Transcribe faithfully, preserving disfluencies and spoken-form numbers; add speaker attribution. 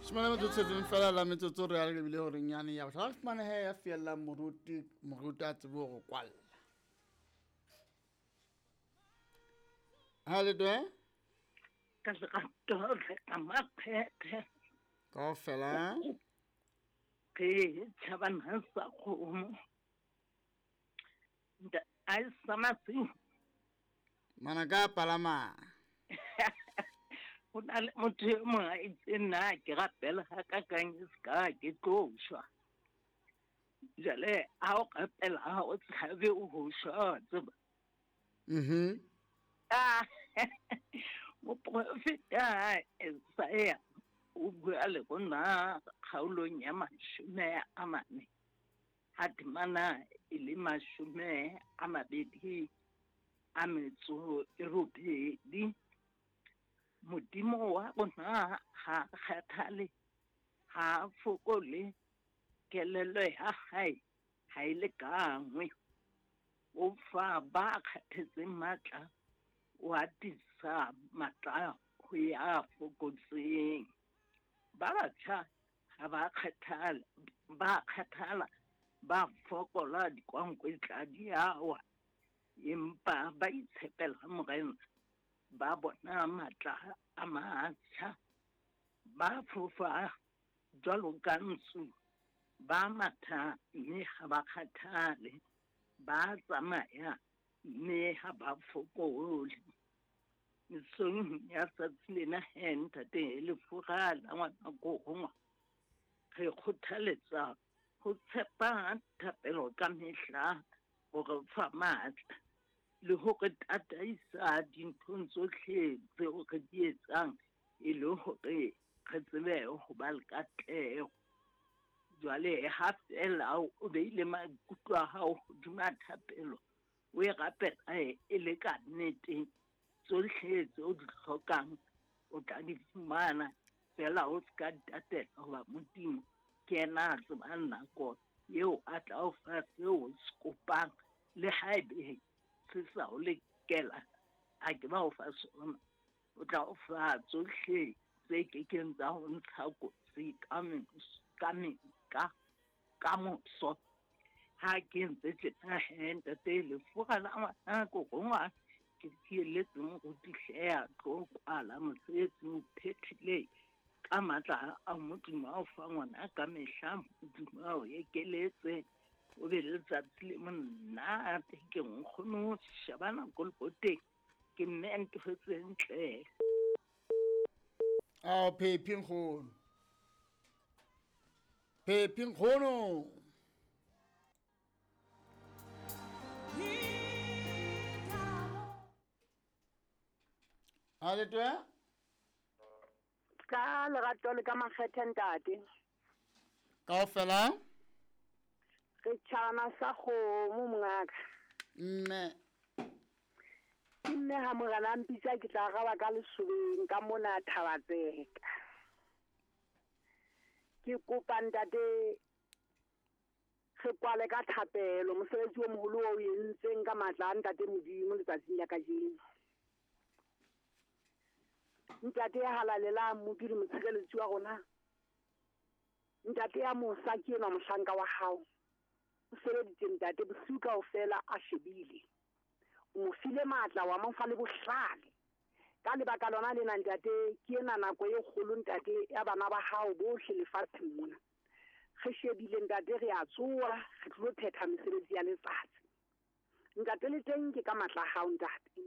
Speaker 1: Shimane metsotso e tseng fela la metsotso re a lebile hore nyane ya bohlano fumane he ya fiella moruti moruti a tsebe hore kwalla. Ha le twe?
Speaker 2: Ka lerato le ka makgethe.
Speaker 1: Kaofela.
Speaker 2: Ke tjhabana sa kgomo. Nta a sa matsi.
Speaker 1: Mana ka palama.
Speaker 2: Ho na le motho e mong a itseng nna ke rapela ha ka kang e ska ke tlo shwa. Jwale ha o rapela ha o tshabe ho shwa tseba.
Speaker 1: Mhm.
Speaker 2: Ah. Moprofeta Isaiah o bua le rona kgaolong ya mashome a mane ha temana e le mashome a mabedi a metso e robedi. Modimo wa rona ha kgathale, ha fokole, kelello ya hae ha e lekangwe. O fa ba kgathetseng matla, o atisa matla ho ya fokotseng. Ba batjha ha ba kgathala, ba kgathala, ba fokola dikwankwetla di a wa, empa ba itshepela Morena, ba bona matla a matjha, ba fofa jwalo ka ntsu, ba matha mme ha ba kgathale, ba tsamaya mme ha ba fokole. Mesong ya tsatsi lena he ntate Lefura la ngwana ko re kgothaletsa ho tshepa thapelo ka mehla hore fa matla le hore tataisa dinthong tsohle tseo re di etsang e le hore re tsebe ho ba le katleho. Jwale ha feela o beile maikutlo a hao hodima thapelo, o e rapela e le ka nnete, tsohle tseo di hlokang o tla di fumana. Feela o ska tatela hoba Modimo ke yena a tsebang nako eo a tla o fa seo o se kopang, le haebe se sa o lekela a ke ba o fa sona, o tla o fa tsohle tse kekeng tsa ho ntsha kotsi ka ka ka ka moso. Ha ke ntse tjena he ntate Lefura la ngwana ko rongwa ke fielletse moruti hle a tlo kwala mosebetsi o phethile ka matla a Modimo a o fa ngwana ka mehla. Modimo a o ekeletse, o be le letsatsi le monate. Ke nkgono shebana ko leboteng ke mme ntho tse ntle.
Speaker 1: Ao Phephi nkgono. Phephi nkgono. Ha le twe?
Speaker 3: Ka lerato le ka makgethe ntate.
Speaker 1: Kaofela?
Speaker 3: Re tjhabana sa kgomo mongaka.
Speaker 1: Mme.
Speaker 3: Ke mme ha morena a mpitsa ke tla araba ka lesobeng ka mona Thabatseka. Ke kopa ntate re kwale ka thapelo mosebetsi o moholo o entseng ka matla a ntate Modimo letsatsing la kajeno. Ntate ya halalelang Mmopi le motshireletsi wa rona, ntate ya mosa ke enwa mohlanka wa hao. O sebeditse ntate bosiu kaofela a shebile. O mo file matla wa mo fa le bohlale. Ka lebaka lona lena ntate ke ena nako e kgolo ntate ya bana ba hao bohle lefatsheng mona. Re shebile ntate re a tsoha re tlo phetha mesebetsi ya letsatsi. Ntate le teng ke ka matla a hao ntate.